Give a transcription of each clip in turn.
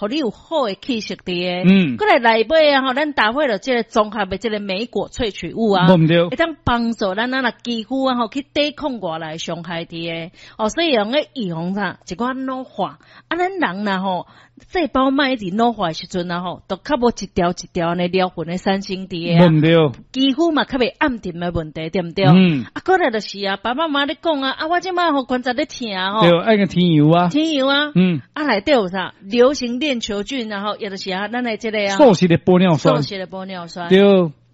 予你有好的氣色佇的。閣來內尾啊吼，咱搭配著這个綜合的這个莓果萃取物啊，無毋對。會當幫助咱咱若肌膚啊吼去抵抗外來傷害佇的。哦，所以用咧預防啥，一寡老化。啊，咱人若吼，細胞莫一直老化的時陣啊吼，就較無一條一條按呢療痕的產生佇的啊。無毋對。肌膚嘛較袂暗沉的問題，對毋對？嗯。啊，閣來就是啊，爸爸媽媽咧講啊，啊，我這擺吼關節咧疼吼。對，愛個天油啊。天油啊。啊，內底有啥？流行鏈球菌，然後也就是啊，咱的這个啊。素食的玻尿酸。素食的玻尿酸。對，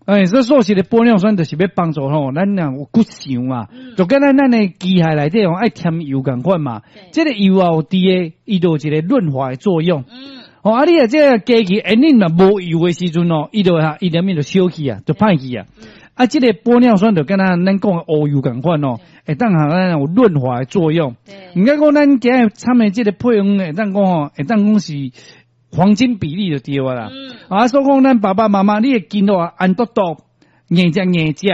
欸，這素食的玻尿酸就是欲幫助吼，咱若有骨傷啊，就敢若咱的機械內底吼愛添油仝款嘛。這个油啊有佇的，伊就有一个潤滑的作用。哦，啊，你若這个機器引領若無油的時陣哦，伊就哈，伊連面就燒去啊，就歹去啊。啊，這个玻尿酸就敢若咱講的烏油仝款哦，會當予咱有潤滑的作用。毋敢講咱今日參的這个配方會當講吼，會當講是黃金比例就對啊啦。啊，所以講咱爸爸媽媽，你的筋肉啊，按嘟嘟，硬食硬食，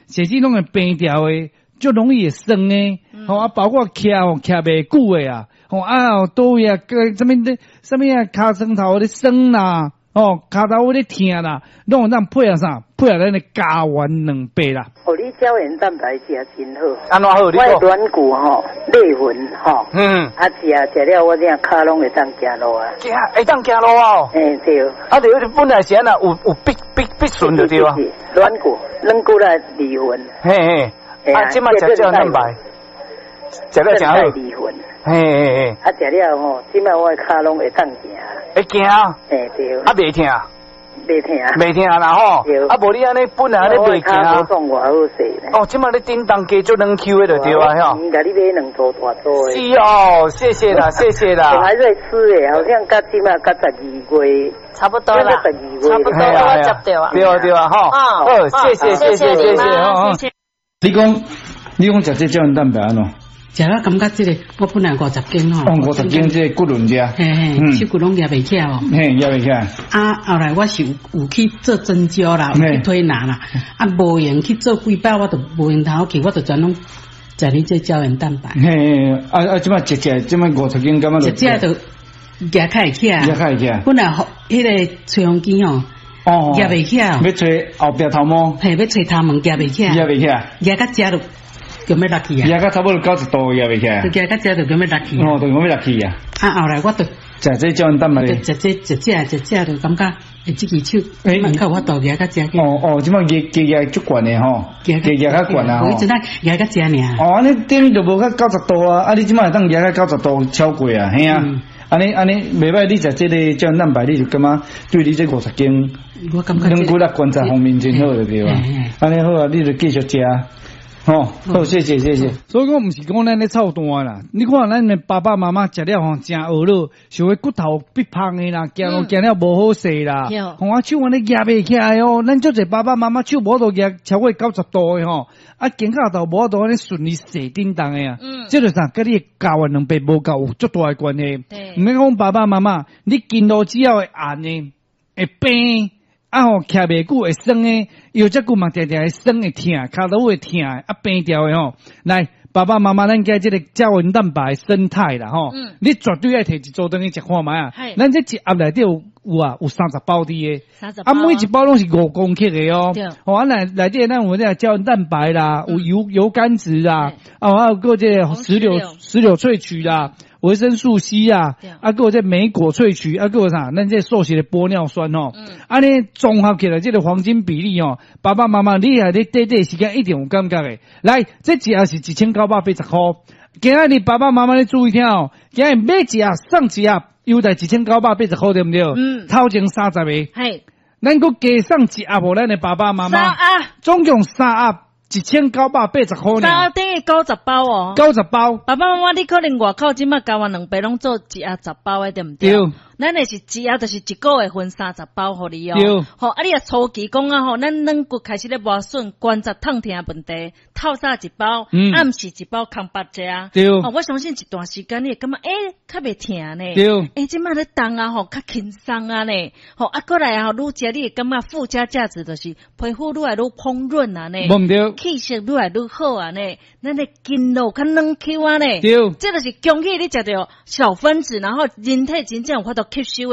甚至攏會病掉的，足容易會酸的。吼啊，包括徛吼徛袂久的啊，吼啊，佗位啊，個啥物咧，啥物啊，尻川頭咧酸啦，哦，跤頭尾咧疼啦，攏會當配合啥？配合咱的膠原蛋白啦。哦，你膠原蛋白食真好。按怎好？你我的軟骨吼，裂痕吼。啊，食食了，我這跤攏會當行路啊。行，會當行路啊？嘿，對。啊，對，本來是按怎有有必必必損就對啊。軟骨，軟骨來離痕。嘿嘿。啊，這擺食膠原蛋白，食了誠好。離痕。嘿嘿嘿。啊，食了吼，這擺我的跤攏會當行。會行。嘿，對。啊，袂疼。袂疼。袂疼啦吼。啊，無你按呢本來按呢袂行。無創偌好勢呢。哦，這擺你叮當加足軟 Q 的就對啊，吼。共你買兩組大組的。是哦，謝謝啦，謝謝啦。我還在吃誒，好像佮這擺佮12月。差不多啦。差不多，我接著啊。對啊對啊，吼。好，謝謝謝謝謝謝，謝謝。你講，你講食這膠原蛋白按怎？食了感覺這个，我本來50斤吼。哦，50斤這个骨輪遮。嘿嘿，手骨攏舉袂起來哦。嘿，舉袂起來。啊，後來我是有有去做針灸啦，有去推拿啦，啊，無閒去做幾擺，我就無閒頭去，我就全攏食你這膠原蛋白。嘿，啊啊，這擺一食，這擺五十斤，感覺一食就舉較會起來。舉較會起來。本來吼，彼个吹風機吼。哦。舉袂起來。欲揣後壁頭毛。嘿，欲揣頭毛舉袂起來。舉袂起來。舉到遮就。就欲落去啊！舉到差不多90度，舉袂起來。就舉到遮就欲落去。哦，就欲落去啊！啊，後來我就食這膠原蛋白。食這一食一食就感覺，欸，這支手，欸，較有法度舉較遮。哦哦，這擺舉舉足懸的吼，舉舉較懸啊吼。我彼陣仔舉較遮爾。哦，按呢等於就無到九十度啊！啊，你這擺會當舉到九十度超過啊，嘿啊！按呢按呢，袂䆀，你食這个膠原蛋白，你就感覺對你這五十斤，我感覺軟骨力關節方面真好就對啊。按呢好啊，你就繼續食。哦，好，謝謝謝謝。所以講毋是講咱咧操蛋啦，你看咱的爸爸媽媽食了吼，誠懊惱，想欲骨頭變芳的啦，行路行了無好勢啦，吼啊手按呢舉袂起來哦，咱足濟爸爸媽媽手無法度舉超過九十度的吼，啊肩胛頭無法度按呢順利踅叮當的啊，這就啥？佮你的膠原蛋白無夠有足大的關係。毋免講爸爸媽媽，你筋肉只要會硬的，會平。啊吼，徛袂久會酸的，腰脊骨嘛定定會酸會疼，跤頭會疼，啊病掉的吼。來，爸爸媽媽，咱今這个膠原蛋白胜肽啦吼，你絕對愛提一組轉去食看覓啊。咱這一盒內底有有啊，有30包佇的，啊每一包攏是5公克的哦。哦，啊內內底咱有這个膠原蛋白啦，有油油甘子啦，啊還有閣這个石榴萃取啦。維生素 C 啊，啊，閣有這莓果萃取，啊，閣有啥？咱這素食的玻尿酸吼，按呢綜合起來這个黃金比例哦，爸爸媽媽你若咧短短時間一定有感覺的。來，這一盒是1980塊，今仔日爸爸媽媽你注意聽哦，今日買一盒送一盒，優待1980塊，對毋對？嗯。頭前30個。嘿。咱閣加送一盒予咱的爸爸媽媽。三盒。總共三盒。1980塊。三盒等於90包哦。九十包。爸爸媽媽，你可能外口這擺膠原蛋白攏做一盒10包的，對毋對？對。咱的是一盒，就是一個月分30包予你哦。對。吼，啊，你若初期講啊吼，咱軟骨開始咧磨損，關節痛疼問題，透早一包，暗時一包，空腹食。對。吼，我相信一段時間你會感覺，欸，較袂疼呢。對。欸，這擺咧動啊吼，較輕鬆啊呢。吼，啊，過來啊吼，愈食你會感覺附加價值就是皮膚愈來愈膨潤啊呢。無毋對。氣色愈來愈好啊呢。咱的筋肉較軟 Q 啊呢。對。這就是恭喜你食著小分子，然後人體真正有法度吸收。